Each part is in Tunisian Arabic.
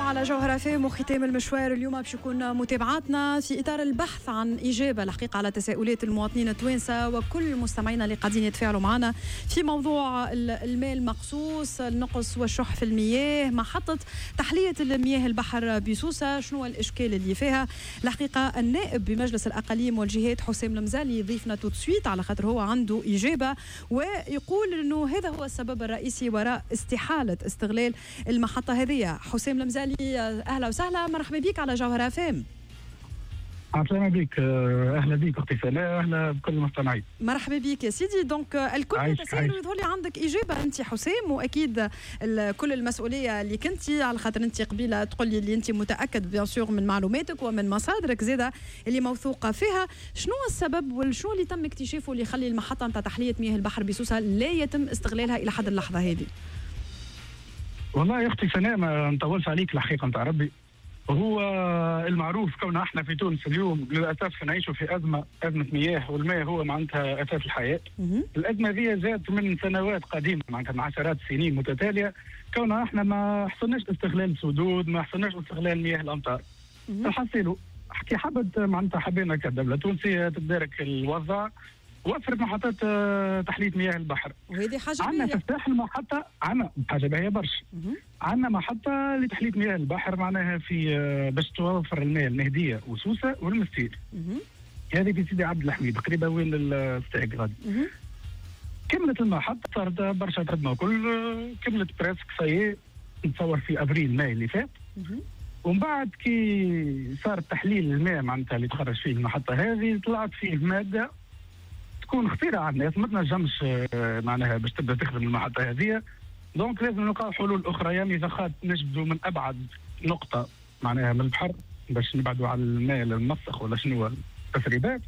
على جوهرة فام، وختام المشوار اليوم باش يكون متابعاتنا في اطار البحث عن اجابه الحقيقة على تساؤلات المواطنين التوانسة وكل مستمعينا اللي قاعدين يتفاعلوا معنا في موضوع الماء المقصوص، النقص والشح في المياه، محطة تحلية المياه البحر بسوسه، شنو الاشكال اللي فيها. الحقيقة النائب بمجلس الاقاليم والجهات حسام المزالي ضيفنا tout de suite، على خاطر هو عنده اجابه ويقول انه هذا هو السبب الرئيسي وراء استحالة استغلال المحطة هذه. حسام المزالي، اهلا وسهلا، مرحبا بك على جوهرة فام. عسلامة بك، اهلا بك اختي سناء، اهلا بكل المستمعين. مرحبا بك يا سيدي. donc الكل يتساءل ويظهر لي عندك اجابه انت حسام، واكيد كل المسؤولية اللي كنتي، على خاطر انت قبيلة تقول لي اللي انت متاكد bien sûr من معلوماتك ومن مصادرك زاده اللي موثوقة فيها. شنو السبب وشنو اللي تم اكتشافه اللي يخلي المحطة نتاع تحلية مياه البحر بسوسه لا يتم استغلالها الى حد اللحظة هذه؟ والله يا اختي سناء ما نطولش عليك، الحقيقة نتاع ربي هو المعروف كون احنا في تونس اليوم للاسف نعيش في ازمه مياه، والماء هو معناتها اساس الحياه. الازمة هذه جات من سنوات قديمه، معناتها من عشرات السنين متتاليه، كون احنا ما حصلناش استغلال سدود، ما حصلناش استغلال مياه الامطار. الحصيلو كي حبت معناتها حبينا كدولة تونسية تدارك الوضع، وفرت محطات تحلية مياه البحر. وهذه حاجة عندنا في الساحل محطه، عندنا حاجة باهيه برشا. عندنا محطة لتحليه مياه البحر معناها في باش توفر الماء المهدية وسوسه والمستير. هذه في سيدي عبد الحميد، قريبه وين الستاغ غادي. كملت المحطه، صارت برشا خدمة وكل، كملت presque ça y est، نتصور في افريل ماي اللي فات. ومن بعد كي صار تحليل الماء معناتها اللي تخرج فيه المحطة هذه، طلعت فيه مادة تكون خطيرة على الناس، ما تنجمش معناها باش تبدا تخدم المحطة هذه. donc لازم نلقاو حلول اخرى، يعني مضخات نجبدوا من ابعد نقطة معناها من البحر باش نبعدوا على الماء المسخ ولا شنو التسريبات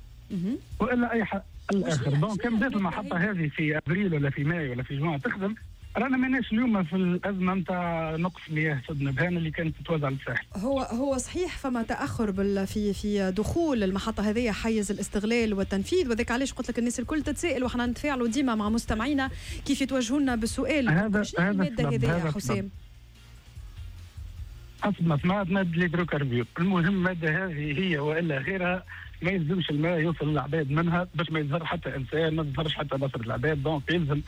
والا اي حل اخر. donc كان بدات المحطة هذه في ابريل ولا في ماي ولا في جوان تخدم، رانا ماناش اليوم في الازمة نتاع نقص مياه سد نبهان اللي كانت تتوزع للساحل. هو هو صحيح فما تاخر في دخول المحطة هذه حيز الاستغلال والتنفيذ، وذاك علاش قلت لك الناس الكل تتساءل، وحنا نتفاعلوا ديما مع مستمعينا كيف يتوجهوا لنا بالسؤال. هذا المادة هذه يا حسام؟ حسب ما سمعت مادة l'hydrocarbure. المهم المادة هذه هي والا غيرها، ما يلزمش الماء يوصل للعباد منها باش ما يتضر حتى انسان، ما تضرش حتى بصرة العباد. donc يلزم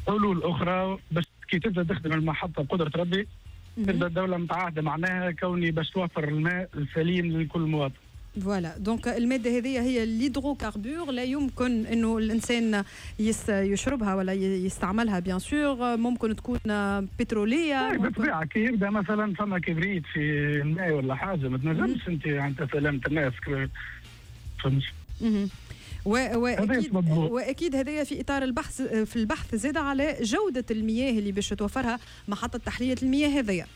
حلول اخرى باش كي تبدا تخدم المحطة بقدره ربي، تبدا الدولة متعاهده معناها كوني باش توفر الماء السليم لكل مواطن. voilà، donc المادة هذه هي l'hydrocarbure، لا يمكن انه الانسان يشربها ولا يستعملها، bien sûr ممكن تكون بتروليه. بالطبيعة كي يبدا مثلا فما كبريت في الماء ولا حاجه، ما تنجمش انت انت سلامه الناس، فهمت؟ واكيد هذايا في اطار البحث، في البحث زاد على جوده المياه اللي باش توفرها محطة تحلية المياه هذيا.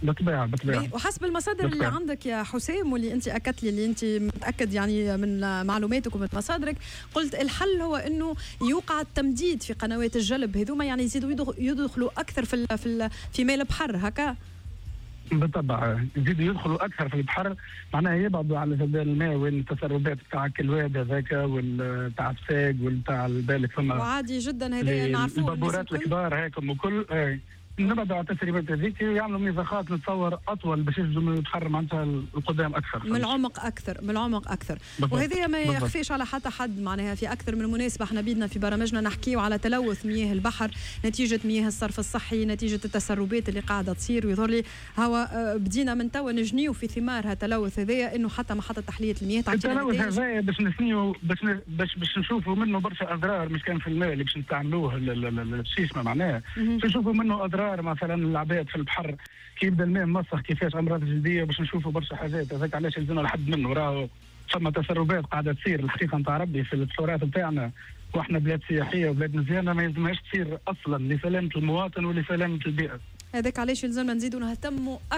بالطبيعة بالطبيعه. وحسب المصادر اللي عندك يا حسام، واللي انت اكدت لي اللي انت متاكد يعني من معلوماتك ومن مصادرك، قلت الحل هو انه يوقع التمديد في قنوات الجلب هذوما، يعني يزيدوا يدخلوا اكثر في ماء البحر هكا. بالطبع يزيدوا يدخلوا اكثر في البحر، معناها يبعدوا على جدال الماء وين التسربات تاع الواد هذاك وتاع الساق وتاع بالك فما. وعادي جدا هذا نعرفوه. البابورات الكبار هيك وكل، نبعدوا على التسريبات هذيك، يعملوا مضخات نتصور اطول باش يجبدوا من البحر معناتها القدام اكثر. من العمق اكثر، من العمق اكثر. وهذه ما يخفيش على حتى حد، معناها في اكثر من مناسبة احنا بيدنا في برامجنا نحكيو على تلوث مياه البحر نتيجة مياه الصرف الصحي، نتيجة التسربات اللي قاعدة تصير. ويظهر لي هو بدينا من توا نجنيو في ثمار هالتلوث هذايا، انه حتى محطة تحلية المياه تعطينا التلوث هذايا باش نثنيو باش نشوفوا منه برشا اضرار، مش كان في الماء اللي باش نستعملوه الشيشمه، معناها باش نشوفوا منه اضرار مثلا العباد في البحر كي يبدا الماء مسخ، كيفاش امراض جلديه، باش نشوفوا برشا حاجات. هذاك علاش لازمنا لحد منه، راهو ثم تسربات قاعدة تصير الحقيقة نتاع ربي في البحورات نتاعنا، واحنا بلاد سياحية وبلاد مزيانه، ما يلزمهاش تصير اصلا لسلامة المواطن ولسلامه البيئة. هذاك علاش يلزمنا نزيدوا نهتموا.